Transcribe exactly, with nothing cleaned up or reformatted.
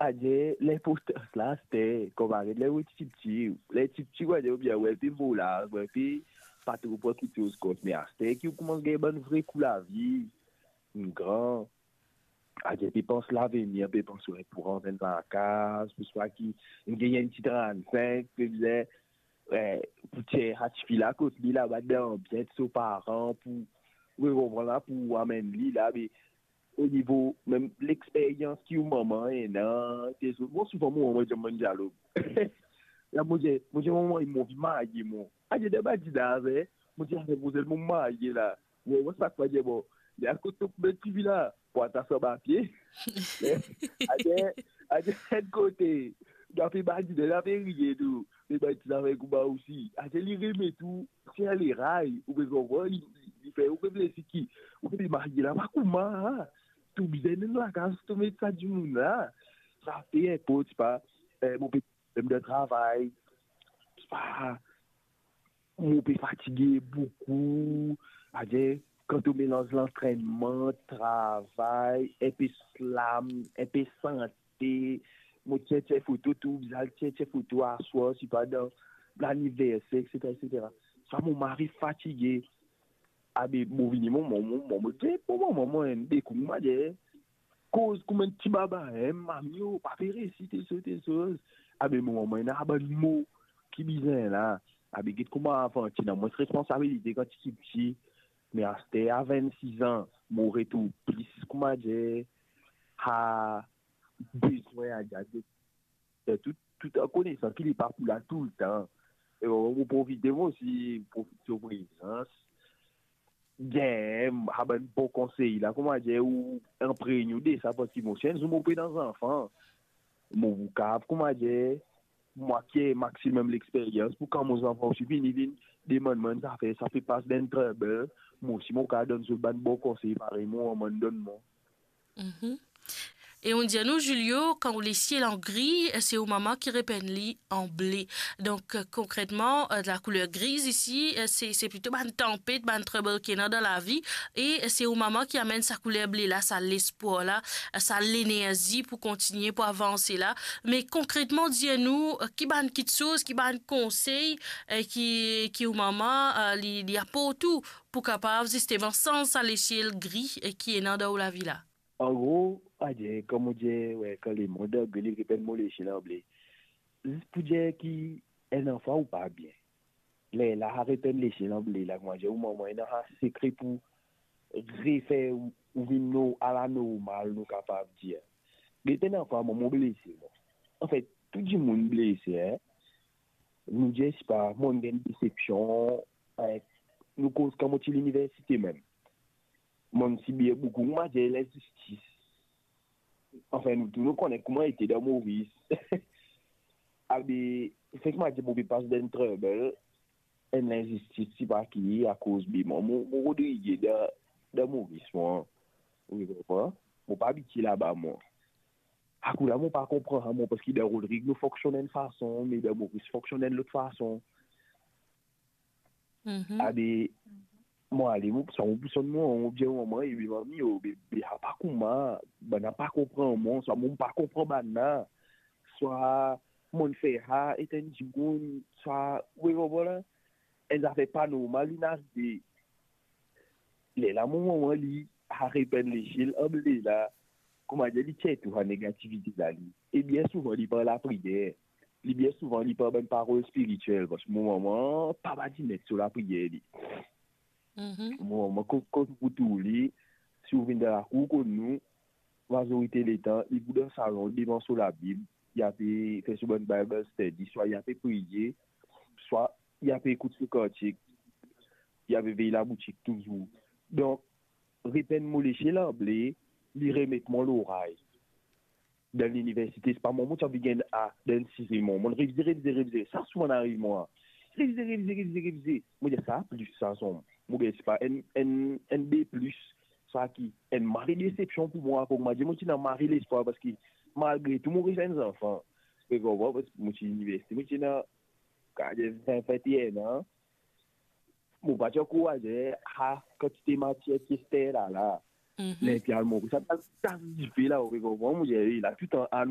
Adir, linportans la, aster, konpare ler ou ti piti, ler ti piti, adir, oubien, ou pe mo la, ou pe pa tro pran kiksoz kont, me aster ki ou koumans gagn bann vre kou lavi, ou gran, adir, pe pans lavenir, pe pans, we, pou rant enn lakaz, pou swa ki, ou gagn enn ti trant-sink, pe bizin, we, pou tir sa tifi la kot li laba dan, bizin so paran, pou, we, konpran la, pou amenn li la, be, o nivo mem lexperyans ki ou mama ena, te so, bon, souvan mo, mo dir bann dialog. La, mo dir, mo dir, "Mama, mo anvi marye, mo." Adir, dan bann dizan, mo dir, "Aret, mo dir, mo marye la." Mo, mo sak pa dir, bon, li al kot to premie tifi la, pou atas sa papie. Adir, adir, enn kote, nou pe badine, nou pe riye tou. Me bann ti zafer kouma osi. Adir, li remet ou, se leray, ou pe konpran, li, li, li fer ou reflesi ki, ou pe marye la, pa kouma, tou bizin enn lakaz, tou met sa dimoun la. Sa pe inport, pa, eh, mo pe mem dan travay, pa, mo pe fatige boukou, adir, kan to melanz lantrennman, travay, enpe slam, enpe sante, mo tir, tir foto tou, bizin al tir, tir foto aswar, sipa dan laniverser, etsetera, etsetera. Sa mo mari fatige. Abe, mo vini, mo, mo, mo, mo, mo, mo, mo, mo, mo, enn de kou, mo dir, koz kouma enn ti baba, en, mami, o, pa pe resi, tel soz, tel soz. Abe, mo, mo, ena bann mo ki bizin la. Abe, get kouma avan, ti ena mwins responsabilite kan ti piti. Me aster, a vennsis an, mo retourn plis, kouma dir, a, bezwin a, a, de, de tou, tou an konesan ki li pa pou la toultan. E bon, mo profite, mo osi profit so prezans. Bien, a bann bon konsey la, kouma dir, ou inpregn ou de sa, parski mo, si enn zour mo pe ena zanfan, mo pou kav, kouma dir, mwa ki ena maximum lexperyans, pou kan mo zanfan osi vini, vinn demann mwa enn zafer, sa pe pas dan trouble, mo osi mo kav donn zot bann bon konsey, parey mo mama donn mwa. Mhm. E ou dir nou, Julio, kan ou lesiel an gri, se ou mama ki repenn li an ble. Donk, konkretman, eh, lakouler griz isi, eh, se, se plito bann tanpet, bann trouble ki ena dan lavi, e se ou mama ki amenn sa kouler ble la, sa lespwar la, eh, sa lenerzi pou kontigne, pou avanse la. Me konkretman, dir nou, eh, ki bann kiksoz, ki bann konsey, eh, ki, ki ou mama, eh, li, li aport ou pou kapav zisteman sanz sa lesiel gri, eh, ki ena dan ou lavi la? An gro, adir, kan mo dir, we, kan lemond an gri, li repenn mo lesiel an ble. Zis pou dir ki enn anfwa ou pa bien. Lerla, repenn lesiel an ble la, kouma dir, ou mama ena sa sekre pou refer ou, ou vinn nor-, ala normal, nou kapav dir. Get enn anfwa, mo, mo blese, mo. Anfet, tou dimoun blese, en. Nou dir, sipa, mo gagn desepsion, eh, nou koz kan mo ti liniversite mem. Mo ti bien boukou, mo dir, linzistis. Anfin, nou tou nou kone kouma ete dan Moris. Abe, seki mo dir, mo pe pas dan enn trouble, enn linzistis, sipa ki, akoz be mo, mo, mo rod riye dan, dan Moris, mo. Ou konpran? Mo pa abitie laba, mo. Akoz la, mo pa konpran, mo, parski dan Rodrig, nou fonksionn enn fason, me dan Moris, fonksionn enn lot fason. Mhm. Abe, mo ale, mo, sa mo pou sonn mo, mo dir mama, e be mami, o, be, be, sa pa kouma, bann la pa konpran mo, swa mo pa konpran bann la, swa mo fer sa, et enn dimoun, swa, we, bon, bon, la, enn zafer pa normal, inn arive. Lerla mo mama, li, repenn lesiel an ble la, kouma dir, li tir tou sa negativite la, li. E bien souvan, li par lapriyer. Li bien souvan, li par bann parol spiritiel, parski mo mama pa badinette so lapriyer, li. Mhm. Mo mama, kot, kot pou tou li, si ou vinn dan lakour kot nou, mazorite letan, li pou dan salon, devan so Labib, li ape fer so bann Bible study, swa li ape priye, swa li ape ekout so kantik, li ape vey laboutik touzour. Donk, repenn mo lesiel an ble, li remet mwa loray. Dan liniversite, sipa mo, mo ti anvi gagn A dan enn siziem mo. Mo revize, revize, revize. Sa souvan ariv mwa. Revize, revize, revize, revize. Mo dir, sa plis sa, son. Mo gagn, sipa, enn, enn, enn B plis. Sa ki enn mari desepsion pou mwa, kouma dir, mo ti ena mari lespwar, parski malgre tou, mo reste enn zanfan. Ou konpran, parski mo ti liniversite, mo ti ena, kapav dir, vin, vin-e-enn an. Mo pa ti ankor, adir, a, kantite matier ki ester la, la. Mhm. Ler ti al mo, sa, sa, sa dife la, ou konpran, mo dir, ey, la, toutan, a,